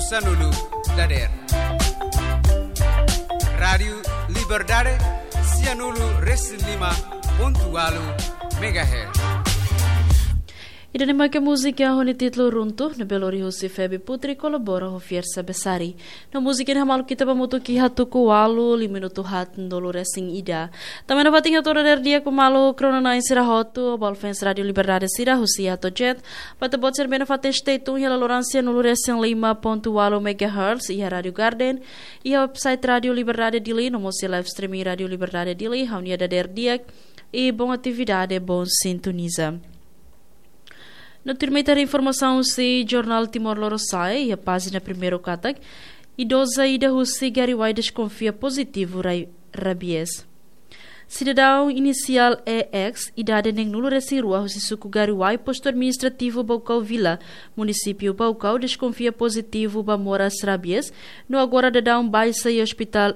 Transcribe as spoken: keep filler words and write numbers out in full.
Sanulu dader. Rádiu Liberdade, sianulu resin lima pontu walu megahertz. Ida-ne'e mak múzika ho nia títulu Runtu, ne'ebé lori husi Febi Putri, kolabora ho Fiersa Besari. No múzika ne'e hamaluk ita ba mutu ki hatuku walu, liu minutu haat nulu resin ida. Tanba ne'e fatin hato'o dader di'ak ba maluk rona-na'in sira hotu, ba fans Rádiu Liberdade sira husi Atojet, ba ita-boot sira ne'ebé nafatin stay tune iha laloran sianulu resin lima pontu walu megahertz, iha Rádiu Garden, iha website Rádiu Liberdade Dili, no mós iha live streaming Rádiu Liberdade Dili, ha'u-nia dader di'ak, i bom atividade, bom sintoniza. No tuirmai ita haree informasaun husi Jornál Timor Lorosa'e, iha pájina primeiru katak, idoza ida husi Gariuai deskonfia pozitivu rai-, rabies. Sidadaun inisiál E X, idade neen-nulu resin rua husi suku Gariuai, postu administrativu Baucau Vila, munisípiu Baucau, deskonfia pozitivu ba moras rabies, no agora daudaun baixa iha ospitál